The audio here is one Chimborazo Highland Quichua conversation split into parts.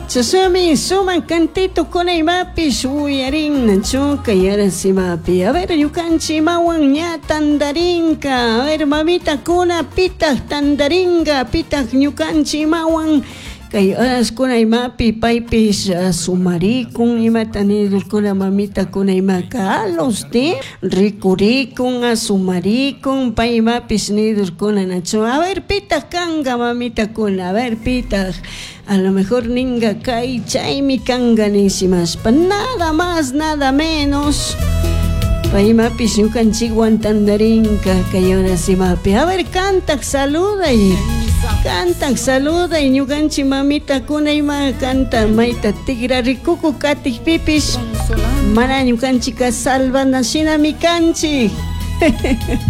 Chashnami sumak cantitokuna imapish uyarin chuka yarasimapi. A ver, ñukanchik imawan ña tandarinka. A ver, mamitakuna pitak tandaringa, pitak ñukanchik imawan kay horaskuna imapi paypish sumarikun imata nidurkuna mamitakuna imaka alos de rikurikun asumarikun pay imapish nidurkuna nachu. A ver, pitak kanka mamitakuna, a ver, pitak a lo mejor ninga kay chaymi kanka nishimashpa nada más nada menos pay imapish ñukanchikwan tandarinka kay horas imapi. A ver, kantak saluday, kantak saluday ñukanchik mamitakuna ima kanta mayta tigrarikuku katikpipish mana ñukanchika salvana shinami kanchik.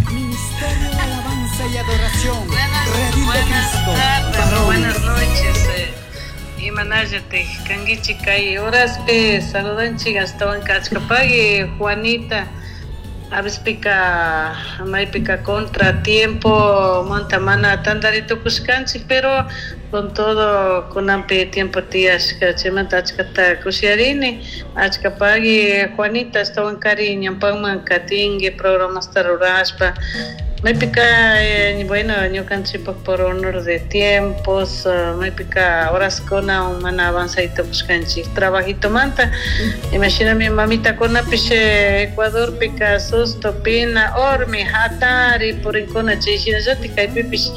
Ministerio de Alabanza y Adoración, Redil de Buenas Cristo, tardes, varones. buenas noches. Imanallatik kankichik kay horaspi saludanchik ashtawanka achkapaki Juanita. A vespika maypika contratiempo manta mana tantari tukushkanchik, pero con todo kunanpi tiempo tiyashka chaymanta achkata kushiyarini achkapaki Juanita ashtawankari ñawpakman katinki programasta rurashpa maypika bueno ñukanchikpak por honor de tiempos maypika horaskuna mana avanzay tukushkanchik trabajitomanta imashinami mamitakunapish Ecuadorpika susto pina ormi hatari purinkuna chay shinallatik kaypipish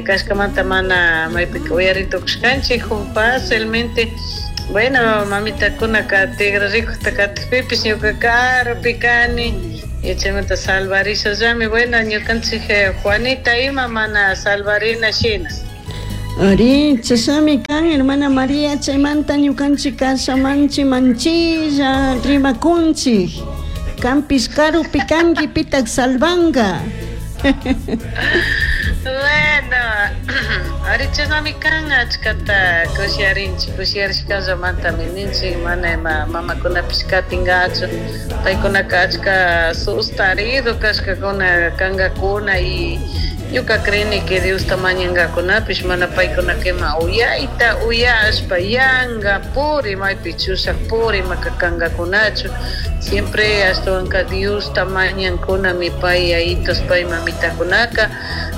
kashkamanta mana maypika uyari tukushkanchik fácilmente. Bueno, mamitakunaka tigrarikukta katikpipish ñuka karupi kani y chaymanta salvarishallami. Bueno, ñukanchik Juanita ima mana salvarina shina. Ari, chashnami kan hermana María, chaymanta ñukanchik kashamanchi manchilla rimakunchik. Kanpish karupi kanki pitak salvanka. Bueno, ari chashnami kan achkata kushiyarinchik, kushiyarishkallamantami ninchik mana ima mamakunapish katinkachu paykunaka achka sustarido kashkakuna kankakuna y ñuka creeni que Diosta mañankakunapish mana paykunaka ima uyayta uyashpa yanka puri maypi chushak puri imaka kankakunachu siempre ashtawanka Diosta mañankunami pay yayitos pay mamitakunaka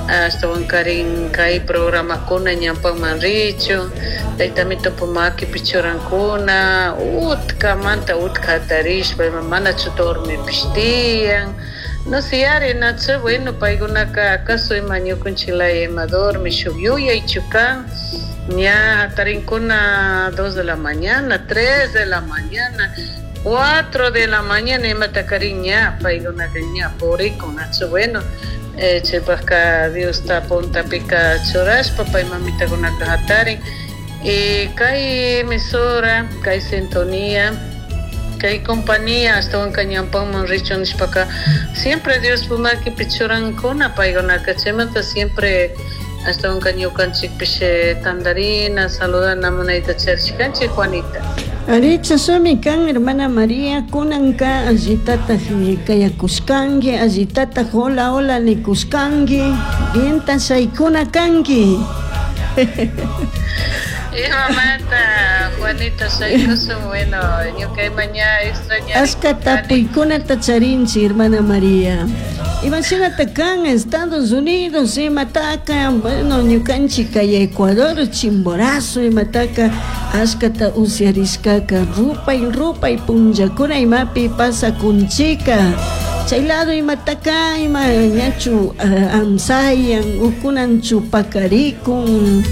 ashtawankarin kay programakuna ñawpakman richun taytamitupa makipi churankuna utkamanta utka hatarishpa ima manachu dormipish tiyan no sé ari nachu bueno paykunaka acaso ima ñukanchik laya ima dormi shuk yuyaychu kan ña hatarinkuna 2 de la mañana 3 de la mañana 4 de la mañana imatakarin ña paykunaka ña purikun nachu bueno chaypakka Diosta puntapika churashpa pay mamitakunaka hatarin y kay emisora kay sintonía kay compañía ashtawanka ñawpakman richun nishpaka siempre Diospa makipi churankuna paykunaka chaymanta siempre ashtawanka ñukanchikpish tandarina saludana munayta charishkanchik Juanita. Ari, chashnami kan hermana María, kunanka allitataj kayakushkanki, allitataj hola hola nikushkanki, bienta shaykuna kanki. Imamanta Juanita shaykushun, bueno, ñuka ima ña extrañarikuni. Ashka tapuykunata charinchik hermana María. Imashinata kan Estados Unidos imataka, bueno, ñukanchik kay Ecuador, Chimborazo imataka ashkata usyarishkaka rupay rupay punllakuna imapi pasakunchika. Chay lado imataka ima ñachu amsayan ukunanchu pakarikun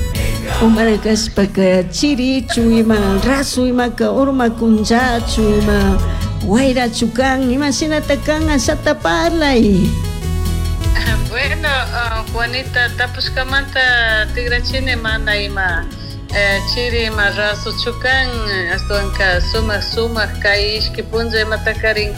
o mana kashpaka chirichu ima rasu imaka urmakunchachu ima wayrachu kan imashinata kan ashata parlay. Bueno, Juanita tapushkamanta tigrachini mana ima chiri ima rasuchu kan ashtawanka sumak sumak kay ishki punlla imatakarin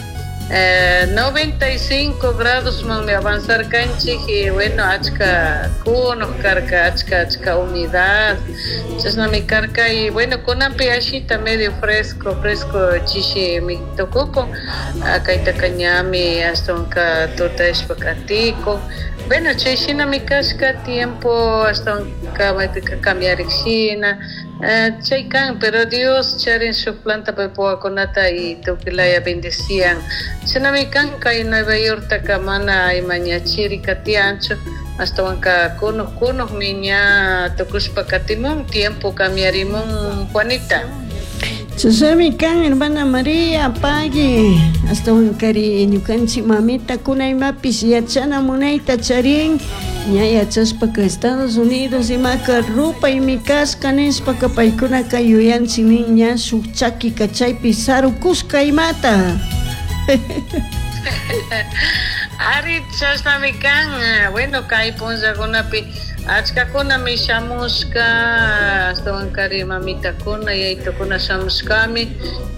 95 grados manmi avanzar kanchik y bueno achka kunuk karka achka achka humedad chashnami karka y bueno kunanpi ashita medio fresco fresco chishi mi tukukun kaytaka ñami ashtawanka tutashpa katikun. Bueno, chay shinami kashka tiempo ashtawanka maypika cambiarik shina chay kan, pero Dios charin shuk planta paypa y tukuylaya bendecian. Shinami kan kay Nueva Yorktaka mana ima ña chirika tiyanchu, ashtawanka kunuk kunukmi ña tukushpa katimun, tiempo cambiarimun, Juanita. Chashnami kan, hermana María, pagui. Ashtawankari ñukanchik mamitakuna imapish yachana munayta charin. Ña yachashpaka Estados Unidos imaka rupaymi kashka nishpaka paykunaka yuyanchik nin ña shuk chakika chaypi sarukushka imata. Ari, chashnami kan. Bueno, kay punllakunapi achkakunami shamushka, ashtawankari mamitakuna, yayitukuna shamushkami.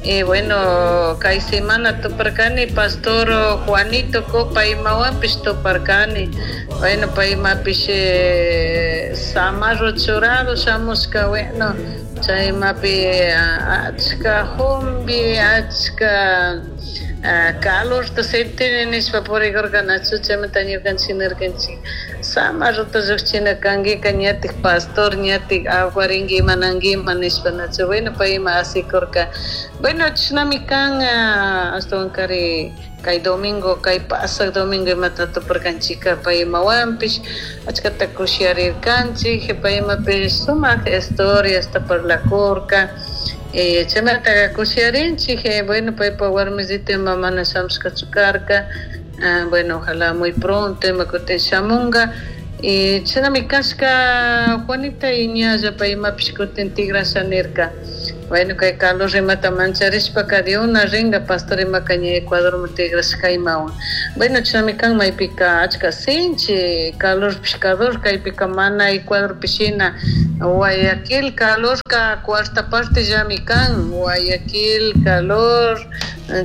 Y bueno, kay semana tuparkani pastor Juanito Copa imawanpish tuparkani. Bueno, paymapish samarro churado shamushka, bueno, chaymapi achka jumbi, achka calorta sentini nishpa purikurkanachu, chaymanta ñukanchik nirkanchik samarrota llukchina kankika ñatik pastor ñatik aguarinki imanankiman nishpa nachu. Bueno, payma asikurka. Bueno, chashnami kan, ashtawankari kay domingo, kay pasak domingo imata tuparkanchika paymawanpish achkata kushiyarirkanchik, paymapish sumak historiasta parlakurka. Chaymantaka kushiyarinchik. Bueno, paypa warmisita ima mana shamushkachu karka. Bueno, ojalá muy pronto ima kutin shamunga. Y chashnami kashka, Juanita, y ñalla paymapish kutin tigrasha nirka. Bueno, kay calor imata mancharishpaka de una ringa pastor imaka ña Ecuadorman tigrashka imawan. Bueno, chashnami kan, maypika achka sinchi calorpish calor, kaypika mana Ecuadorpi shina. Guayaquil calorka cuarta parte llami kan, Guayaquil calor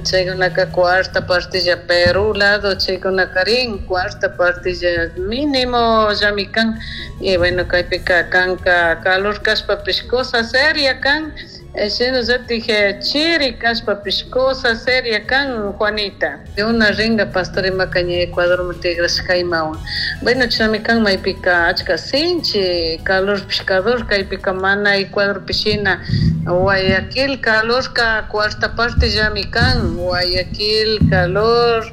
chaykunaka cuarta parte ya, Perú lado chaykunakarin cuarta parte ya mínimo llami kan. Y bueno, kaypika kanka calor kashpapish cosa seria kan, shinallatik chiri kashpapish cosa seria kan, Juanita. De una ringa pastor imaka ña Ecuadorman tigrashka imawan. Bueno, chashnami kan, maypika achka sinchi calorpish calor, kaypika mana Ecuadorpi shina. Guayaquil calorka cuarta parte llami kan, Guayaquil calor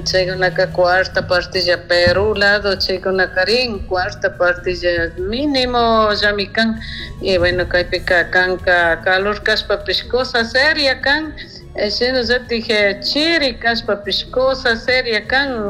chaykunaka cuarta parte ya, Perú lado chaykunakarin cuarta parte ya mínimo llami kan. Y bueno, kaypika kanka calor kashpapish cosa seria kan, shinallatik chiri kashpapish cosa seria kan.